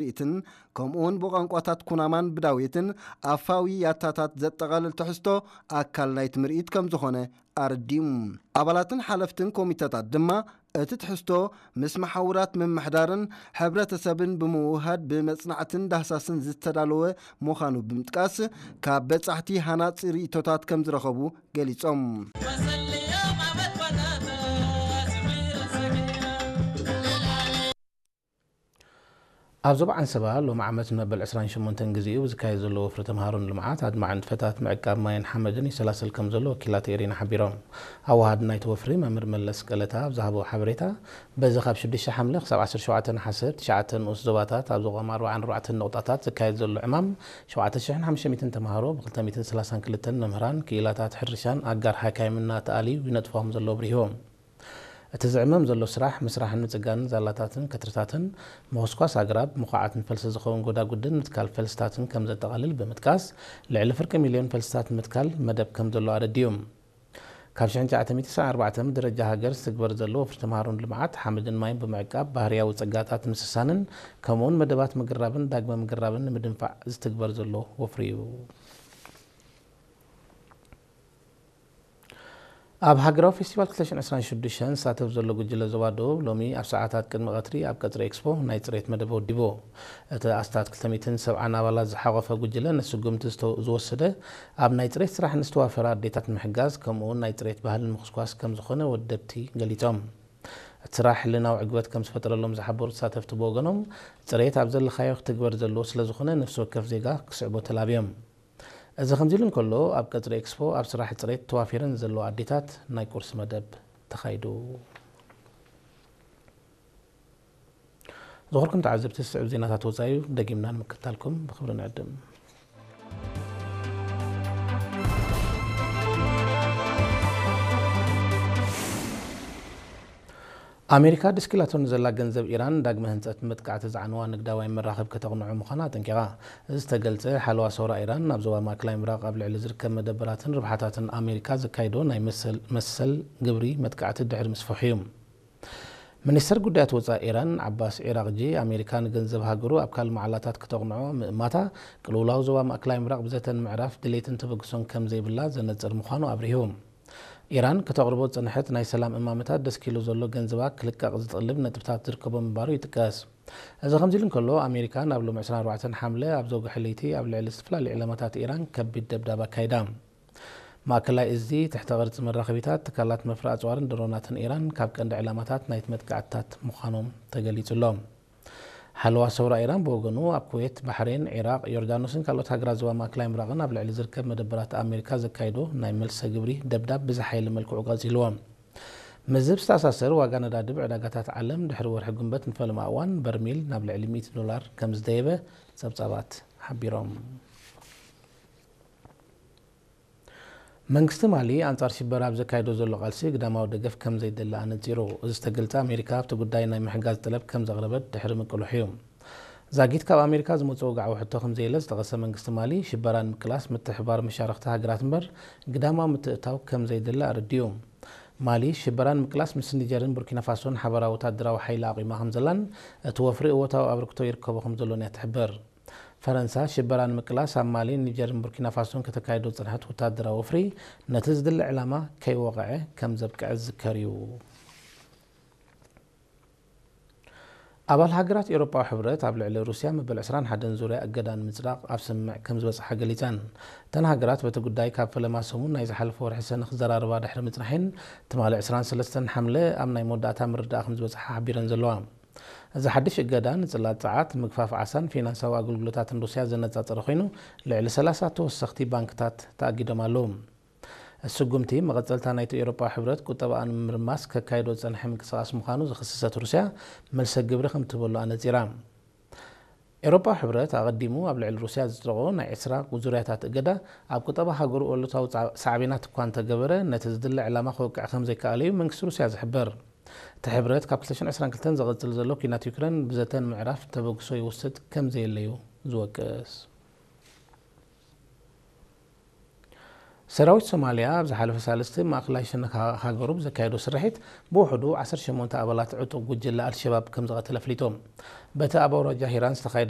ምርኢትን ከምኡውን ብቋንቋታት ኩናማን ብዳውየትን ኣፋዊ ያታታት ዘጠቓልል ትሕዝቶ ኣካል ናይቲ ምርኢት ከም ዝኾነ ኣረዲኡ። ኣባላትን ሓለፍትን ኮሚተታት ድማ እቲ ትሕዝቶ ምስ መሓውራት ምምሕዳርን ሕብረተሰብን ብምውህሃድ ብመጽናዕትን ዳህሳስን ዝተዳለወ ምዃኑ ብምጥቃስ፣ ካብ በጻሕቲ ሃናጺ ርእይቶታት ከም ዝረኸቡ ገሊጾም። ኣብ ዞባ ዓንሰባ ሎሚ ዓመት ንመበል ዕስራን ሸሞንተን ግዜኡ ዝካየድ ዘሎ ወፍሪ ተምሃሮን ልምዓት ኣድማዒ ንጥፈታት ምዕቃብ ማይን ሓመድን ይሰላሰል ከም ዘሎ ወኪላት ኤሪና ሓቢሮም። ኣወሃዲ ናይቲ ወፍሪ መምህር መለስ ቀለታ ኣብ ዝሃቦ ሓበሬታ፣ በዚ ካብ ሽዱሽተ ሓምለ ክሳብ ዓሰርተ ሸውዓተ ነሓሰ ኣብ ትሽዓተ ንኡስ ዞባታት ኣብ ዝቖም ኣርባዓን ኣርባዕተን ነቑጣታት ዝካየድ ዘሎ ዕማም ሸውዓተ ሽሕን ሓሙሽተ ሚእትን ተምሃሮ ብ ክልተ ሚእትን ሰላሳን ክልተን መምህራን፣ ክኢላታት ሕርሻን ኣጋር ሓካይምን እናተኣልዩ ይነጥፎም ዘሎ ኣብሪሆም። እቲ ዝዕመም ዘሎ ስራሕ ምስራሕን ምጽጋንን ዛላታትን ከትርታትን፣ ምኹስኳስ ኣግራብ፣ ምኹዓት ንፈልሲ ዝኸውን ጎዳጉድን ምትካል ፈልስታትን ከም ዘጠቓልል ብምጥቃስ፣ ልዕሊ ፍርቂ ሚልዮን ፈልስታት ምትካል መደብ ከም ዘሎ ኣረዲኡ። ካብ ሽሕን ትሽዓተ ሚእትን ሰብዓን ኣርባዕተን ብደረጃ ሃገር ዝትግበር ዘሎ ወፍሪ ተምሃሮን ልምዓት ሓመድን ማይን ብምዕቃብ ባህርያዊ ጸጋታት ምስሳንን ከምኡውን መደባት ምግራብን ዳግመ ምግራብን ንምድንፋዕ ዝትግበር ዘሎ ወፍሪ እዩ። ኣብ ሃገራዊ ፌስቲቫል ክልተ ሽሕን ዕስራን ሽዱሽተን ዝሳተፍ ዘሎ ጉጅለ ዞባ ደቡብ ሎሚ ኣብ ሰዓታት ቅድሚ ቀትሪ ኣብ ቀጽሪ ኤክስፖ ናይ ጽሬት መደብ ወዲቡ። እቲ ኣስታት ክልተ ሚእትን ሰብዓን ኣባላት ዝሓቖፈ ጉጅለ ነቲ ስጉምቲ ዝተ- ዝወሰደ ኣብ ናይ ጽሬት ስራሕ ንዝተዋፈራ ኣዴታት ንምሕጋዝ ከምኡውን ናይ ጽሬት ባህሊ ንምኹስኳስ ከም ዝኾነ ወደብቲ ገሊጾም። እቲ ስራሕ ሕልናዊ ዕግበት ከም ዝፈጠረሎም ዝሓበሩ ተሳተፍቲ ብወገኖም፣ ጽሬት ኣብ ዘለኻዮ ክትግበር ዘለዎ ስለ ዝኾነ ነፍሲ ወከፍ ዜጋ ክስዕቦ ተላብዮም። እዚ ከምዚ ኢሉ እንከሎ፣ ኣብ ቀጽሪ ኤክስፖ ኣብ ስራሕ ጽሬት ተዋፊረን ዘለዋ ኣዴታት ናይ ቁርሲ መደብ ተኻይዱ። ዝኸበርኩም ተዓዘብቲ፣ ዝስዕብ ዜናታት ወጻኢ እዩ፣ ደጊምና ንምክትታልኩም ብኽብሪ ንዕድም። ኣሜሪካ ደስኪላቶ ንዘላ ገንዘብ ኢራን ዳግመ ህንጸት መጥቃዕቲ ዝዓነዋ ንግዳዊ መራኽብ ከተቕንዖ ምዃና ኣጠንቂቓ። እዚ ዝተገልጸ፣ ሓለዋ ሰውራ ኢራን ናብ ዞባ ማእከላይ ምብራቕ ኣብ ልዕሊ ዝርከብ መደበራትን ርብሓታትን ኣሜሪካ ዘካይዶ ናይ መሰል፣ መሰል ግብሪ መጥቃዕቲ ድሕሪ ምስፍሑ እዩ። ሚኒስተር ጉዳያት ወጻኢ ኢራን ዓባስ ዒራቕጂ፣ ኣሜሪካ ንገንዘብ ሃገሩ ኣብ ካልእ መዓላታት ከተቕንዖ ምእማታ፣ ቅልውላው ዞባ ማእከላይ ምብራቕ ብዘተን ምዕራፍ ድሌትን ተበግሶን ከም ዘይብላ ዘነጽር ምዃኑ ኣብሪሁ። ኢራን ከተቕርቦ ዝጸንሐት ናይ ሰላም እማመታት ደስኪሉ ዘሎ ገንዘባ ክልቀቕ ዝጥልብ ነጥብታት ዝርከቦ ምንባሩ ይጥቀስ። እዚ ከምዚ ኢሉ እንከሎ፣ ኣሜሪካ ናብ ሎሚ ዕስራን ኣርባዕተን ሓምለ ኣብ ዘውግሐ ለይቲ ኣብ ልዕሊ ዝተፈላለዩ ዕላማታት ኢራን ከቢድ ደብዳብ ኣካይዳ። ማእከላይ እዚ ትሕተ ቅርጺ መራኸቢታት፣ ትካላት መፍረ ኣጽዋርን ድሮናትን ኢራን ካብ ቀንዲ ዕላማታት ናይቲ መጥቃዕትታት ምዃኖም ተገሊጹ ኣሎ። ሓለዋ ሰውራ ኢራን ብወገኑ፣ ኣብ ኩዌት፣ ባሕሬን፣ ዒራቕ፣ ዮርዳኖስን ካልኦት ሃገራት ዞባ ማእከላይ ምብራቕን ኣብ ልዕሊ ዝርከብ መደበራት ኣሜሪካ ዘካይዶ ናይ መልሰ ግብሪ ደብዳብ ብዝሓየለ መልክዑ ቀጺልዎ። ምስዚ ብዝተኣሳሰር፣ ዋጋ ነዳዲ ብዕዳጋታት ዓለም ድሕሪ ወርሒ ጉንበት ንፈለማ እዋን በርሚል ናብ ልዕሊ ሚእቲ ዶላር ከም ዝደየበ ጸብጻባት ሓቢሮም። መንግስቲ ማሊ ኣንጻር ሽበራ ኣብ ዘካይዶ ዘሎ ቃልሲ ግዳማዊ ደገፍ ከም ዘይደሊ ኣነጺሩ። እዚ ዝተገልጸ ኣሜሪካ ኣብቲ ጉዳይ ናይ ምሕጋዝ ጠለብ ከም ዘቕረበት ድሕሪ ምቅልሑ እዩ። ዛጊት ካብ ኣሜሪካ ዝመጽእ ወግዓዊ ሕቶ ከም ዘየለ ዝጠቐሰ መንግስቲ ማሊ፣ ሽበራ ንምቅላስ ምትሕብባር መሻርኽቲ ሃገራት እምበር ግዳማዊ ምትእትታው ከም ዘይደሊ ኣረዲኡ። ማሊ ሽበራ ንምቅላስ ምስ ኒጀርን ቡርኪና ፋሶን ሓበራዊ ወታደራዊ ሓይሊ ኣቑማ ከም ዘላን እቲ ወፍሪ እወታዊ ኣበርክቶ ይርከቦ ከም ዘሎን እያ ትሕብር። ፈረንሳ ሽበራ ንምቅላስ ኣብ ማሊ፣ ኒጀርን ቡርኪና ፋሶን ከተካይዶ ዝጸንሐት ወታደራዊ ወፍሪ ነቲ ዝድለ ዕላማ ከይወቕዐ ከም ዘብቅዐ ዝዝከር እዩ። ኣባል ሃገራት ኤውሮጳዊ ሕብረት ኣብ ልዕሊ ሩስያ መበል ዕስራን ሓደን ዙርያ እገዳ ንምጽዳቕ ኣብ ስምምዕ ከም ዝበጽሓ ገሊጸን። እተን ሃገራት በቲ ጉዳይ ካብ ፈለማ ሰሙን ናይ ዝሓለፈ ወርሒ ሰነ ክዘራረባ ድሕሪ ምጽናሐን፣ ትማሊ ዕስራን ሰለስተን ሓምለ ኣብ ናይ መወዳእታ ምርዳእ ከም ዝበጽሓ ሓቢረን ዘለዋ። እዚ ሓድሽ እገዳ ንጽላት ጸዓት፣ ምግፋፍ ዓሳን ፊናንሳዊ ኣገልግሎታትን ሩስያ ዘነጻጸረ ኮይኑ፣ ልዕሊ ሰላሳ ተወሰኽቲ ባንክታት ተኣጊዶም ኣለዉ። እቲ ስጉምቲ መቐጸልታ ናይቲ ኤውሮጳዊ ሕብረት ቁጠባኣ ንምርማስ ከካይዶ ዝጸንሐ ምንቅስቓስ ምዃኑ ዝኽሰሰት ሩስያ፣ መልሰ ግብሪ ከም ትህበሉ ኣነጺራ። ኤውሮጳዊ ሕብረት ኣቐዲሙ ኣብ ልዕሊ ሩስያ ዘጽደቖ ናይ ዕስራ ዙርያታት እገዳ፣ ኣብ ቁጠባ ሃገሩ ኣሉታዊ ጻ-፣ ሳዕቤናት እኳ እንተገበረ፣ ነቲ ዝድለ ዕላማ ከውቅዕ ከም ዘይከኣለ እዩ መንግስቲ ሩስያ ዝሕብር። እቲ ሕብረት ካብ ክልተ ሽሕን ዕስራን ክልተን ዝቕጽል ዘሎ ኲናት ዩክሬን ብዘተን ምዕራፍ ተበግሶ ይወስድ ከም ዘየለ እዩ ዝወቅስ። ሰራዊት ሶማልያ ኣብ ዝሓለፈ ሳልስቲ ማእከላይ ሸነኽ ሃ-፣ ሃገሩ ብዘካየዶ ስርሒት ብውሕዱ ዓሰርተ ሸሞንተ ኣባላት ዕጡቕ ጉጅለ ኣልሸባብ ከም ዝቐተለ ኣፍሊጡ። በቲ ኣብ ኣውራጃ ሂራን ዝተኻየደ